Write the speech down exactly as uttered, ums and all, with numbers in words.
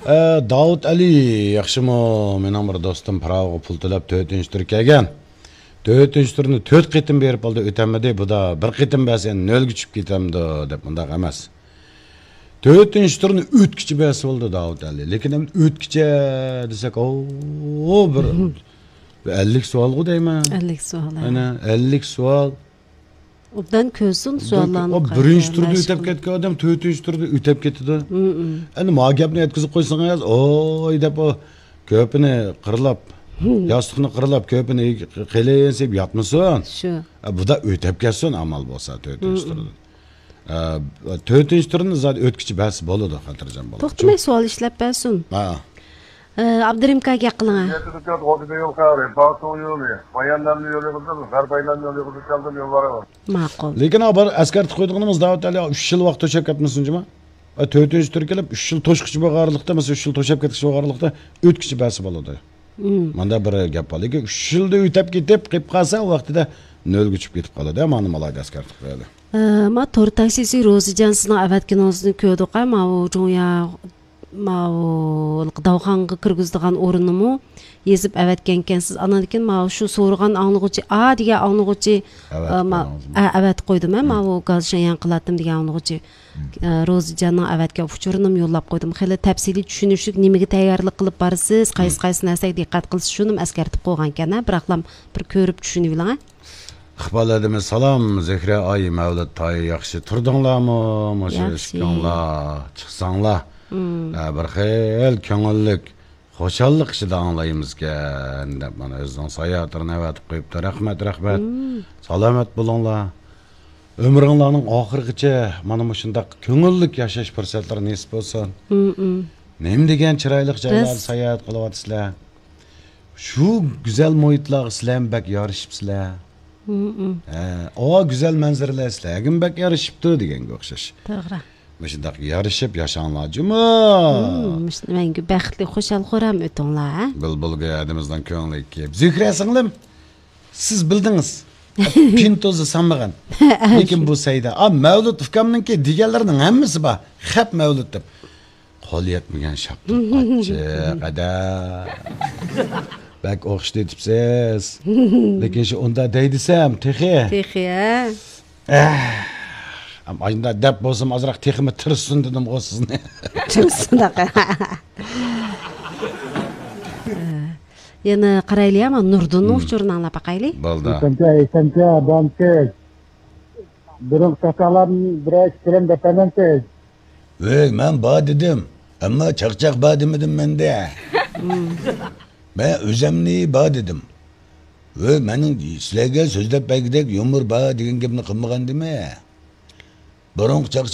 ئە، داۋۇت ئەلى، ياخشىمۇ؟ مېنىڭ بىر دوستۇم پىراۋىغا پۇل تۆلەپ تۆتىنچى تۈر كەلگەن. تۆتىنچى تۈرنى تۆت قېتىم بېرىپ ئالدى، ئۆتەلمىدى. بۇدا بىر قېتىم بەرسە يەنە نۆلگە چۈشۈپ كېتەمدۇ دەپ، مۇنداق ئەمەس. تۆتىنچى تۈرنى ئۆتكۈچە بەرسە بولىدۇ داۋۇت ئەلى. لېكىن ئەمدى ئۆتكۈچە دېسەك، ئو، بىر، بىر ئەللىك سوئالغۇ دەيمەن. ئەللىك سوئال، ھە. ئەنە، ئەللىك سوئال. ئوبدان كۆرسۇن سوئاللارنى. ئوبدان كۆ-، ئو، بىرىنچى تۈردە ئۆتەپ كەتكەن ئادەم تۆتىنچى تۈردە ئۆتەپ كېتىدۇ. مم. ئەنە، ما گەپنى يەتكۈزۈپ قويسىڭىز، ئوي دەپ، ئۇ كۆپىنى قىرلاپ، ياستۇقنى قىرلاپ، كۆپىنى قېلىن سېلىپ ياتمىسۇن. شۇ. ئە، بۇدا ئۆتەپ كەتسۇن، ئامال بولسا، تۆتىنچى تۈردىن. ئە، تۆتىنچى تۈرنى زادى ئۆتكۈچە بەرسە بولىدۇ، خاتىرجەم بولۇڭ. توختىماي سوئال ئىشلەپ بەرسۇن. ھە. ئە، ئابدۇرېھىم ئاكا گەپ قىلىڭە. ماقۇل. لېكىن ئا، بار ئەسكەرتىپ قويىدىغىنىمىز داۋۇت ئەلى ئۈچ يىل ۋاقىت توشاپ كەتمىسۇن جۇما. ئا، تۆتىنچى تۈر كېلىپ، ئۈچ يىل توشقۇچە بولغان ئارىلىقتا، مەسىلەن، ئۈچ يىل توشاپ كەتكۈچە بولغان ئارىلىقتا ئۆتكۈچە بەرسە بولىدۇ. مم. ماندا بىر گەپ بار. لېكىن ئۈچ يىلدا ئۆتەپ كېتىپ، قېلىپ قالسا، ئۇ ۋاقتىدا نۆلگە چۈشۈپ كېتىپ قالىدۇ. مانا مالايدا ئەسكەرتىپ قويايلى. ئە، ما تور تاكسىسى روزىجان سىزنىڭ ئەۋەتكىنىڭىزنى كۆردۇق، ئە، ماۋۇ جۇڭيا، ماۋۇ داۋخانغا كىرگۈزىدىغان ئورۇننىمۇ يېزىپ ئەۋەتكەنكەنسىز. ئانان كېيىن ماۋۇ شۇ سورىغان ئاڭلىغۇچى، ئا دېگەن ئاڭلىغۇچى، ئەۋەتىپ ئە، ما-، قويدىڭىزمۇ؟ ئە، ئەۋەتىپ قويدۇم، ئە، مم. ماۋۇ گاز شەييان قىلاتتىم دېگەن ئاڭلىغۇچى. مم. ئە، روزىجاننىڭ ئەۋەتكەن ئۇچۇرىنىمۇ يوللاپ قويدۇم. خېلى تەپسىلىي چۈشىنىشلىك نېمىگە تەييارلىق قىلىپ بارىسىز، قايسى، مم. قايسى نەرسىگە دىققەت قىلىسىز، شۇنىمۇ ئەسكەرتىپ قويغانكەن، ھە، بىراقلام بىر كۆرۈپ چۈشىنىۋېلىڭ، ھە. ئىقبال ھەدىمىز سالام، زۆھرە ئاي، مەۋلۇت تاي، ياخشى تۇردۇڭلارمۇ؟ مۇشۇ ياخشى. ئىككىڭلار چىقساڭلار، مم. ئە، بىر خىل كۆڭۈللۈك، خۇشاللىق ئىچىدە ئاڭلايمىزكەن، دەپ مانا ئۆزىنىڭ ساياھەتلىرىنى ئەۋەتىپ قويۇپتۇ. رەھمەت، رەھمەت. مم. سالامەت بولۇڭلار. ئۆمرۈڭلارنىڭ ئاخىرىغىچە مانا مۇشۇنداق كۆڭۈللۈك ياشاش پۇرسەتلىرى نېسىپ بولسۇن. مم، مم. نېمە دېگەن چىرايلىق جايلاردا ساياھەت قىلىۋاتىسىلەر. شۇ گۈزەل مۇھىتلارغا سىلەرمۇ بەك يارىشىپسىلەر. مم، مم. ھە، ئاۋۇ گۈزەل مەنزىرىلەر سىلەرگىمۇ بەك يارىشىپتۇ دېگەنگە ئوخشاش. توغرا. مۇشۇنداق يارىشىپ ياشاڭلار جۇمۇ. مم، مۇشۇنداق مەڭگۈ بەختلىك، خۇشال-خۇرام ئۆتۈڭلار، ھە؟ بۈلبۈلگۈل ھەدىمىزنىڭ كۆڭلى كېلىپ. زۆھرە سىڭلىم، سىز بىلدىڭىز. پىنتوزى سانمىغان. لېكىن بۇ سەيدە. ئا، مەۋلۇت ئۇكامنىڭكى دېگەنلىرىنىڭ ھەممىسى بار. خەپ مەۋلۇت دەپ. قول يەتمىگەن شاپتۇل قاچچىق، ئەدە. بەك ئوخشىتىۋېتىپسىز. لېكىن شۇ ئۇندا دەي دېسەم، تېخى. تېخى، ھە؟ ئەھ. ئەم، ئاشۇنداق دەپ بولسام، ئازراق تېخىمۇ تىرىشسۇن دېدىمغۇ سىزنى. تىرىشسۇنداق. يەنە قارايلى، ئەمما نۇردىننىڭ ئۇچۇرىنى ئاڭلاپ باقايلى. بولدى. ئېسەنچە، ئېسەنچە، بانكىز. بۇرۇنقى چاقچاقلارنى بىرەر ئىككىلەن دەپەلەمسىز؟ ۋەي، مەن بار دېدىم. ئەمما چاقچاق بار دېمىدىم مەندە. مەن ئۆزەمنى بار دېدىم. ۋەي، مېنىڭ سىلەرگە سۆزلەپ بەرگۈدەك يۇمۇر بار دېگەن گەپنى قىلمىغانىدىم. بۇرۇنقى چاقچاق